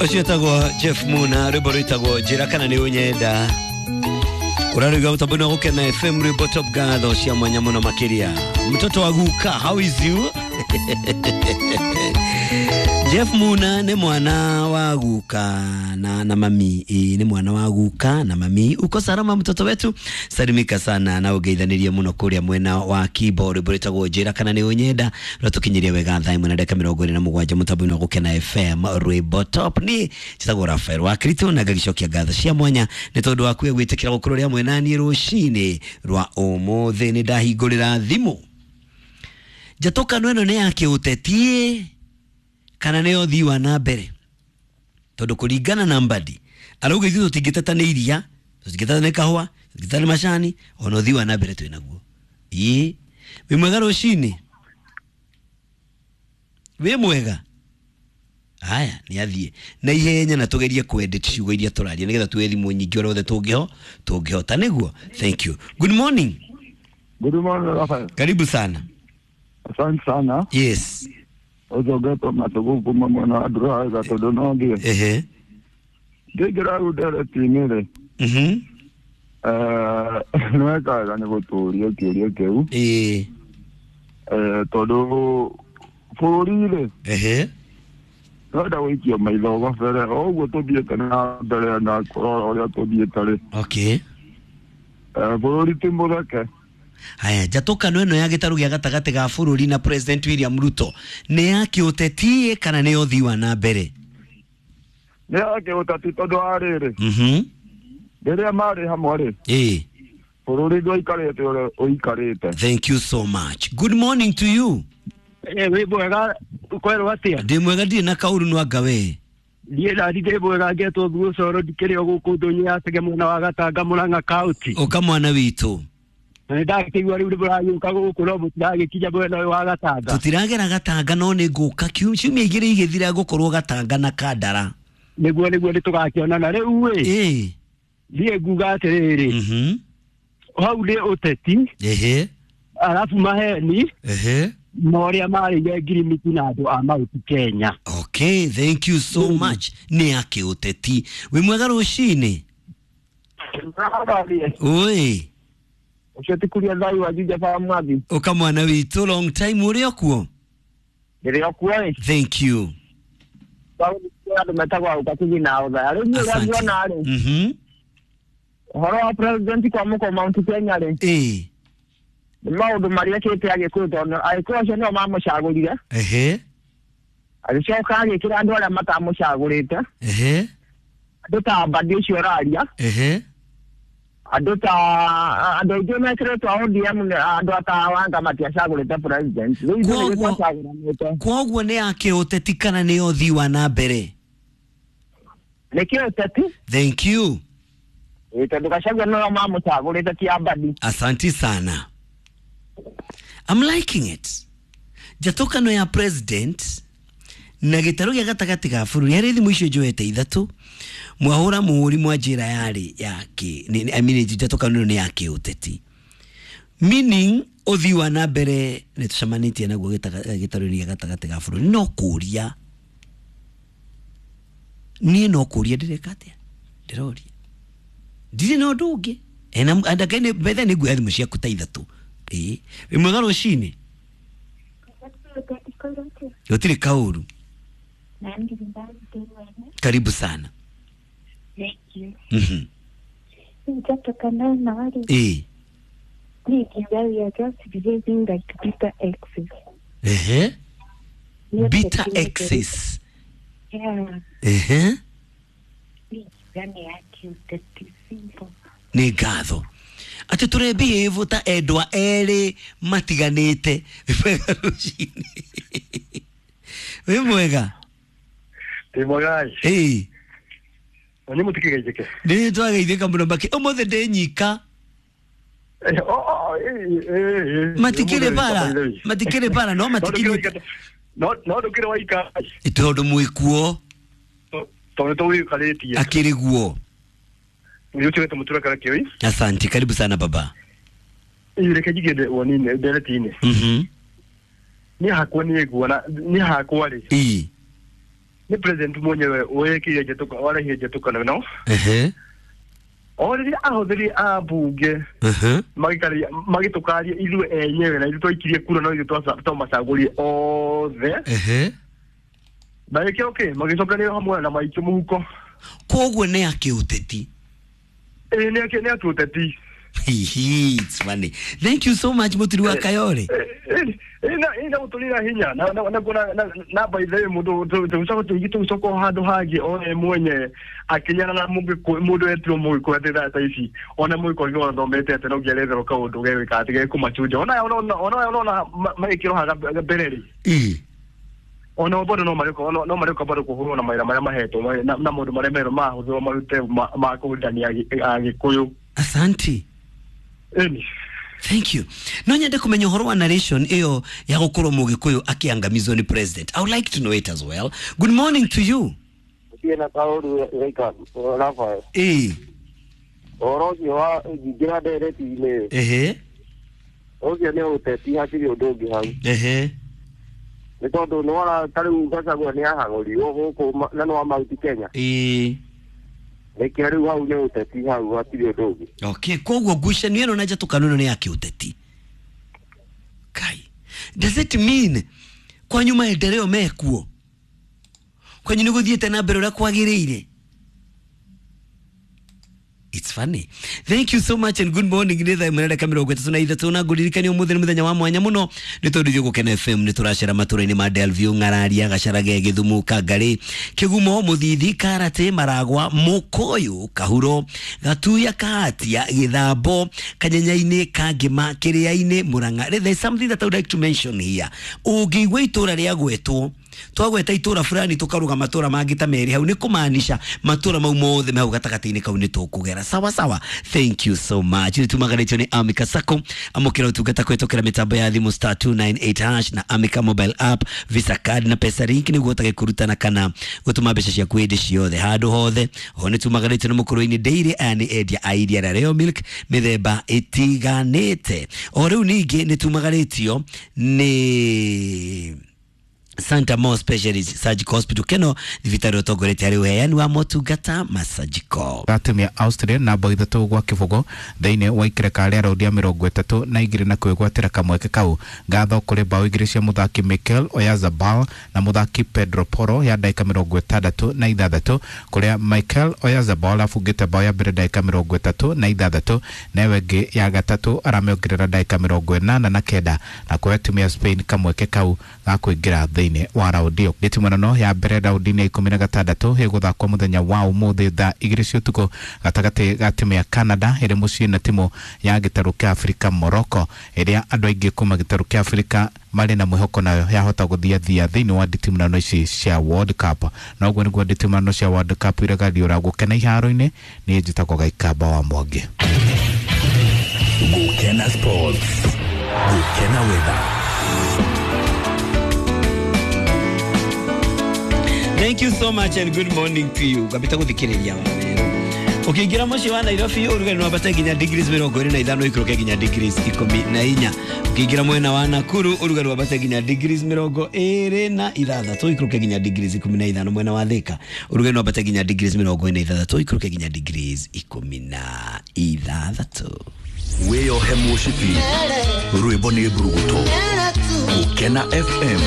Ũcio wĩtagwo Jeff Muna, rwĩmbo rwĩtagwo Njĩra kana nĩ ũnyenda. Ũraruga mũtambo-inĩ wa Gũkena FM, rwĩmbo top ngatho cia mwanya mũno makĩria. Mtoto wa guka, how is you? Jeff Muna nĩ mwana wa guka na mami. Ĩ, nĩ mwana wa guka na mami. Uko salama mtoto wetu? Salimika sana na ũgeithanĩrie mũno kũrĩa mwena wa Kibo. Rwĩmbo rwĩtagwo Njĩra kana nĩ ũnyenda rwatũkinyirie wega thaa 1 na ndagĩka 27 mũtambo-inĩ wa Gũkena FM, rwĩmbo top. Niĩ njĩtagwo Rafael wa Kristo na ngagĩcokia ngatho cia mwanya nĩ tondũ wa kuya gwĩtĩkĩra gũkorwo rĩ hamwe naniĩ rũcinĩ rwa ũmũthĩ. Nĩ ndahingũrĩra thimũ njatũkano ĩno nĩ ya kĩũteti kana nĩ ũthii wa na mbere, tondũ kũringana na Mbadi arauga ithuĩ tũtingĩteta nĩ iria, tũtingĩteta nĩ kahũa, tũtingĩteta nĩ macani, ona ũthii wa na mbere twĩ naguo. Ĩĩ, wĩ mwega rũcinĩ? Wĩ mwega? Haya, nĩ athiĩ na ihenya na tũgerie kwedit ciugo iria tũraria nĩgetha tuoe thimũ nyingĩ ũrĩa othe tũngĩhota nĩguo. Thank you. Good morning. Good morning, Rafael. Karibu sana. Asante sana. Yes. Ũcogetwo matũgũ kuma mwena wa Ndũrũhaiga tondũ no thiĩ. Ehe. Ngĩingĩra rĩu ndereti-inĩ rĩ, nĩ weka wega nĩ gũtũũria kĩũria kĩu. Ĩĩ. Tondũ bũrũri rĩ, Ehe. wenda gũikio maitho gabere o ũguo tũthiĩte na mbere na kũrora ũrĩa tũthiĩte rĩ. Okay. Bũrũri ti mũtheke. Haya, njatũkano ĩno ya gĩtarũ gĩa gatagatĩ ga bũrũri na President William Ruto nĩ ya kĩũteti kana nĩ ũthii wa na mbere? Nĩ ya kĩũteti tondũ wa rĩrĩ, rĩrĩa marĩ hamwe rĩ, Ĩĩ. bũrũri ndwaikarĩte ũrĩa ũikarĩte. Thank you so much. Good morning to you. Wĩ mwega kwerwo atĩa? Ndĩ mwega, ndirĩ na kaũru no anga we. Niĩ nani ndĩ mwega, ngetwo Thuo Coro, ndikĩrĩ o gũkũ ndũnyũ ya Chege mwena wa Gatanga Mũrang'a kaũnti. Ũka mwana witũ. Na nĩndakĩigua rĩu nĩmũragĩũka gũkũ no mũtiragĩkinya mwena ũyũ wa Gatanga. Tũtiragera Gatanga no nĩ ngũka ciumia igĩrĩ igĩthira ngũkorwo Gatanga na Kandara. Nĩguo nĩtũgakĩonana rĩu ĩ. Ĩĩ. Niĩ nguga atĩrĩrĩ, hau nĩ ũteti. Ehe. Arabu maheni. Ehe. Na ũrĩa marĩire ngirimiti na andũ a Mount Kenya. Okay, thank you so much. Nĩ ya kĩũteti. Wĩ mwega rũcinĩ? Oi. Ũcio ti kuria thayũ wa Juja ba mwathi. Ũka mwana witũ, long time ũrĩ o kuo? Ndĩrĩ o kuo ĩ. Thank you. Andũ metagwo Auka Kigina Othaya. Rĩu niĩ ũrĩa nguona rĩ, ũhoro wa president kwamũkwo Mount Kenya rĩ, Ĩĩ. nĩ maũndũ marĩa ekĩte Agĩkũyũ tondũ Agĩkũyũ acio nĩo mamũcagũrire. Ehe. Agĩcoka agĩkĩra andũ arĩa matamũcagũrĩte. Ehe. Andũ ta Mbadi ũcio ũraria. Ehe. Andũ ta andũ aingĩ mekĩrĩtwo ODM andũ ta Wanga matiacagũrĩte president. Rĩu ithuĩ nĩ twacagũranĩte. Koguo nĩ ya kĩũteti kana nĩ ũthii wa na mbere? Nĩ kĩũteti. Thank you. Tondũ Gachagua nĩo mamũcagũrĩte ti Mbadi. Asanti sana. I'm liking it. Njatũkano ya president na gĩtarũ gĩa gatagatĩ ga bũrũri harĩ thimũ icio njoete ithatũ mwahũra mũhũri mwanjĩra yarĩ ya kĩ I mean njatũkano ĩno nĩ ya kĩũteti, meaning ũthii wa na mbere nĩ tũcemanĩtie naguo gĩtarũ-inĩ gĩa gatagatĩ ga bũrũri. No kũria niĩ no kũria ndĩreka atĩa, ndĩroria ndirĩ na ũndũ ũngĩ. Bethe nĩ nguoya thimũ ciaku ta ithatũ. Ĩĩ, wĩ mwega rũcinĩ? Gũtirĩ kaũru. Karibu sana. Thank you. Ĩĩ. We are just behaving like bitter exes. Ehe. Bitter exes. Yeah. Ehe. Nĩ ngatho atĩ tũrebehave ta endwa erĩ matiganĩte. Wĩ mwega rũcinĩ? Wĩ mwega? Ndĩ mwega. Ĩĩ. Na nĩ mũtikĩgeithĩke? Nĩ twageithĩka mũno makĩ ũmũthĩ ndĩ nyika. Matikĩrĩ bara, matikĩrĩ bara no matikĩrĩ. No ndũkĩrĩ waika. Tondũ mwĩkuo. Tondũ nĩ tũgũikarĩtie. Akĩrĩ guo. Nĩ ũtigĩte mũtura kana kĩoi. Asante, karibu sana baba. Reke njigĩre woni-inĩ ndereti-inĩ. Niĩ hakwa nĩ nguona niĩ hakwa rĩ. Ĩĩ. Nĩ president mwenyewe wĩkire njĩtũka warehire njĩtũkano ĩno. Ehe. O rĩrĩa ahũthĩri a mbunge Ehe. magĩkaria magĩtũkaria ithuĩ enyewe na ithuĩ twaikirie kura no ithuĩ twamacagũrire othe. Ehe. Magĩkĩra kĩ magĩcokanĩrĩra hamwe na maikio mũhuko. Koguo nĩ akĩũteti. Ĩĩ nĩ akĩ nĩ atũteti. Hihi, it's funny. Thank you so much Mutiri wa Kayore. Ina gũtũrĩra hinya na na na na na by the way mũndũ tũgĩcoka tũgĩcoka handũ hangĩ o we mwenye akĩnyana na mũndũ etirwo mũgĩkũyũ atĩ thaa ta ici ona mũgĩkũyũ angĩkorwo athomete atĩ no nginya aretherwo kaũndũ gegwĩka atĩ gekũmachunja ona ona ona magĩkĩrwo haha mbere rĩ. Ĩĩ. Ona bado no marĩũka no marĩũka bado kũhũrwo na mawĩra marĩa mahetwo na maũndũ marĩa merwo mahũthĩrwo marute ma kũhũrithania Agĩkũyũ. Asante. Ĩni. Thank you. No nyende kumenya ũhoro wa narration ĩyo ya gũkorwo mũgĩkũyũ akĩangamizwo nĩ president. I would like to know it as well. Good morning to you. Thiĩ na kaũru gĩka Rafael. Ĩĩ. Ũhoro ũcio wa ingĩra ndereti-inĩ. Ehe. Ũcio nĩ ũteti hatirĩ ũndũ ũngĩ hau. Ehe. Nĩ tondũ nĩ wona ta rĩu Gachagua nĩ ahagũrirwo gũkũ na nĩ wa Mount Kenya. Ĩĩ. Nĩkĩo rĩu hau nĩ ũteti hau hatirĩ ũndũ ũngĩ. Okay, koguo ngucanio ĩno na njatũkano ĩno nĩ ya kĩũteti. Kai. Does it mean kwanyu maendeleo mekuo? Kwanyu nĩ gũthiĩte na mbere ũrĩa kwagĩrĩire? It's funny. Thank you so much and good morning. Nĩ thaa ĩmwe na ndagĩka mĩrongo ĩtatũ na ithatũ na ngũririkania ũmũthĩ nĩ mũthenya wa mwanya mũno nĩ tondũ ithuĩ Gũkena FM nĩ tũracera matũra-inĩ ma Delview, Ng'araria, Gacharage, Gĩthumo, Kangarĩ, Kĩgumo, Mũthithi, Karate, Maragwa, Mũkũyũ, Kahuro, Gatuya, Kahatia, Gĩthambo, Kanyenya-inĩ, Kangĩma, Kĩrĩa-inĩ, Mũrang'a. There is something that I would like to mention here. Ũngĩigua itũra rĩagwetwo twagweta itũra fulani tukaruga matũra mangĩ ta merĩ hau nĩ kũmaanisha matũra mau mothe me hau gatagatĩ-inĩ kau nĩ tũkũgera sawa sawa. Thank you so much. Nĩ tumaganĩtio nĩ Amika Sacco. Amũkĩra ũtungata kũhĩtũkĩra mĩtambo ya thimũ star 298 hash na Amika mobile app, Visa card na Pesa Link nĩguo ũhotage kũrutana kana gũtũma mbeca ciaku hĩndĩ ciothe handũ hothe. Ho nĩ tumaganĩtio nĩ Mũkũrũ-inĩ Dairy. Aya nĩ endia a iria rĩa Royal Milk mĩthemba ĩtiganĩte. O rĩu ningĩ nĩ tumaganĩtio nĩ Santa Mo Specialist Surgical Hospital keno thibitarĩ ũtongoretie harĩ ũheani wa motungata ma surgical. Timu ya Austria na bao 3-0 thĩinĩ wa ikereka rĩa raundi ya 32 na kwĩgwatĩra kamweke kau. Ngatho kũrĩ bao 2 cia mũthaki Mikel Oyarzabal na mũthaki Pedro Porro ya ndagĩka 66 kũrĩa Mikel Oyarzabal abungĩte bao ya mbere ndagĩka 36 na ĩyo ĩngĩ ya gatatũ aramĩongerera ndagĩka 89 na kũhe timu ya Spain kamweke kau ga kũingĩra thĩinĩ wa raundi ĩyo. Gĩtimũrano ya mbere raundi-inĩ ya 16 ĩgũthakwo mũthenya wa ũmũthĩ thaa 2 cia ũtukũ gatagatĩ ga timu ya Canada ĩrĩ mũciĩ na timu ya gĩtarũ kĩa Afrika Morocco ĩrĩa andũ aingĩ kuma gĩtarũ kĩa Afrika marĩ na mwĩhoko nayo yahota gũthiathia thĩinĩ wa nditimũrano ici cia World Cup. Na ũguo nĩguo nditimũrano cia World Cup iregariũra gũkena iharo-inĩ. Niĩ njĩtagwo Gaikamba wa Mwangi. Gũkena Sports, Gũkena Weather. Thank you so much and good morning to you. Ngambĩte gũthikĩrĩria wamero. Ũkĩingĩra mũciĩ wa Nairobi ũrugarĩ nĩwambate nginya degrees 25 ikũrũke nginya degrees 14. Ũkĩingĩra mwena wa Nakuru ũrugarĩ wambate nginya degrees 26 ikũrũke nginya degrees 15. Mwena wa Thika ũrugarĩ nĩwambate nginya degrees 46 ikũrũke nginya degrees 16. Wĩyohe mũcibi rwĩmbo nĩ mburuguto. Gũkena FM.